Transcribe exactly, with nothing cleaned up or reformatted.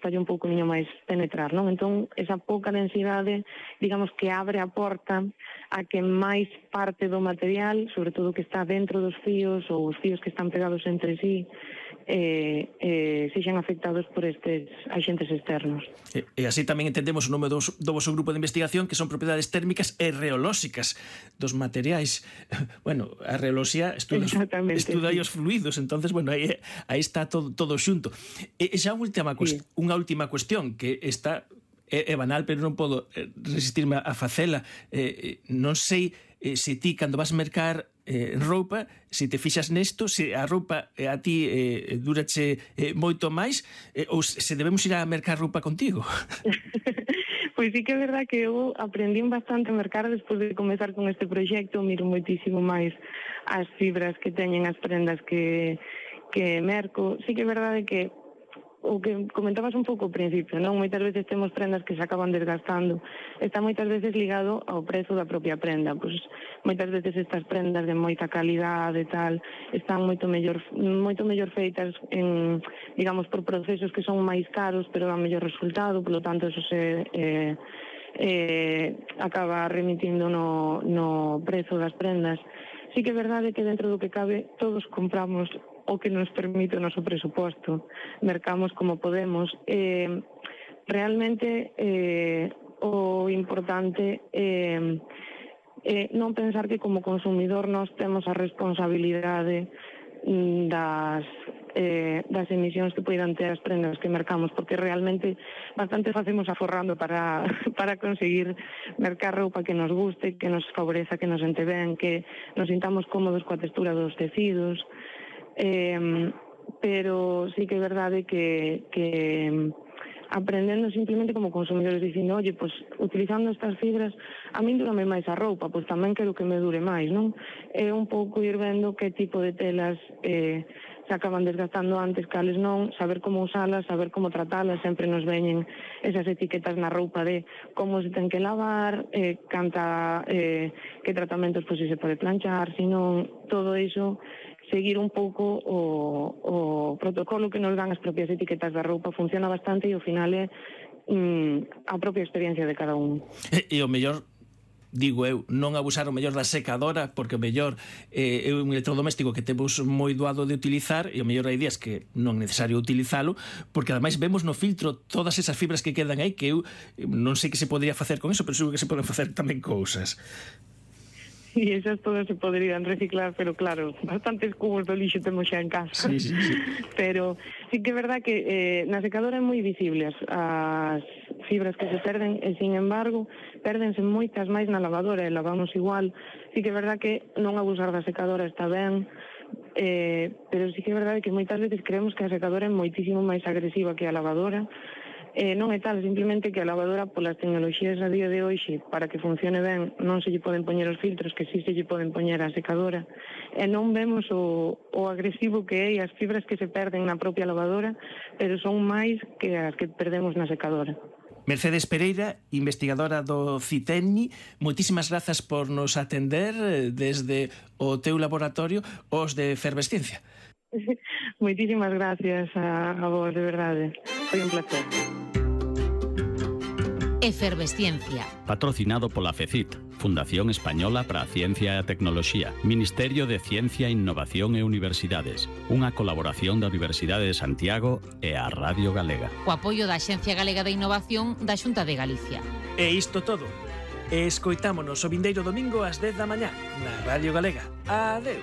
custalle un pouco máis penetrar, non? Entón, esa pouca densidade, digamos que abre a porta a que máis parte do material, sobre todo que está dentro dos fíos ou os fíos que están pegados entre sí, eh, eh, sexan afectados por estes axentes externos. E, e así tamén entendemos o nome do, do vosso grupo de investigación, que son propiedades térmicas e reolóxicas dos materiais. Bueno, a reoloxía estuda, estuda sí. os fluidos, entonces, bueno, aí, aí está todo, todo xunto. E, e xa unha última, sí. unha última cuestión que está é, é banal, pero non podo resistirme a facela. Eh, non sei eh, se ti, cando vas mercar eh, roupa, se te fixas nesto, se a roupa eh, a ti eh, durache eh, moito máis, eh, ou se debemos ir a mercar roupa contigo. Pois sí que é verdad que eu aprendí bastante a mercar despois de comezar con este proxecto, miro moitísimo máis as fibras que teñen as prendas que, que merco. Sí que é verdade que o que comentabas un pouco ao principio, non? Moitas veces temos prendas que se acaban desgastando. Está moitas veces ligado ao prezo da propia prenda. Pois moitas veces estas prendas de moita calidade e tal están moito mellor moito mellor feitas en, digamos, por procesos que son máis caros, pero dan mellor resultado, polo tanto eso se eh, eh, acaba remitindo no, no prezo das prendas. Sí que é verdade que dentro do que cabe todos compramos o que nos permite o noso presuposto, mercamos como podemos. Eh, realmente eh, o importante é eh, eh, non pensar que como consumidor nós temos a responsabilidade das, eh, das emisións que poidan ter as prendas que mercamos, porque realmente bastante facemos aforrando para, para conseguir mercar roupa que nos guste, que nos favoreza, que nos ente ben, que nos sintamos cómodos coa textura dos tecidos. Eh, pero sí que é verdade que, que aprendendo simplemente como consumidores dicindo, oye, pues utilizando estas fibras a min durame máis a roupa, pois tamén quero que me dure máis, non? É un pouco ir vendo que tipo de telas eh, se acaban desgastando antes, cales non, saber como usalas, saber como tratalas, sempre nos veñen esas etiquetas na roupa de como se ten que lavar, eh, canta, eh, que tratamentos pois se pode planchar, sino todo iso, seguir un pouco o, o protocolo que nos dan as propias etiquetas da roupa funciona bastante e ao final é mm, a propia experiencia de cada un. E, e o mellor, digo eu, non abusar o mellor da secadora, porque o mellor eh, é un electrodoméstico que temos moi doado de utilizar e o mellor hai días que non é necesario utilizalo, porque ademais vemos no filtro todas esas fibras que quedan aí, que eu non sei que se podría facer con eso, pero seguro que se poden facer tamén cousas. E esas todas se poderían reciclar, pero claro, bastantes cubos de lixo temos xa en casa. Sí, sí, sí. Pero sí que é verdad que eh, na secadora é moi visible as, as fibras que se perden e, sin embargo, pérdense moitas máis na lavadora e lavamos igual. Sí que é verdad que non abusar da secadora está ben, eh, pero sí que é verdade que moitas veces creemos que a secadora é moitísimo máis agresiva que a lavadora. Eh, non é tal, simplemente que a lavadora, polas tecnoloxías a día de hoxe, para que funcione ben, non se lle poden poñer os filtros que si se lle poden poñer a secadora, e non vemos o, o agresivo que é e as fibras que se perden na propia lavadora, pero son máis que as que perdemos na secadora. Mercedes Pereira, investigadora do CITENI, moitísimas grazas por nos atender desde o teu laboratorio os de Efervesciencia. Moitísimas gracias a, a vos, de verdade. Foi un placer. Efervesciencia. Patrocinado pola FECIT, Fundación Española para a Ciencia e a Tecnoloxía, Ministerio de Ciencia, Innovación e Universidades, unha colaboración da Universidade de Santiago e a Radio Galega. O apoio da Axencia Galega de Innovación da Xunta de Galicia. E isto todo. Escoitámonos o vindeiro domingo ás dez da mañá na Radio Galega. Adeus.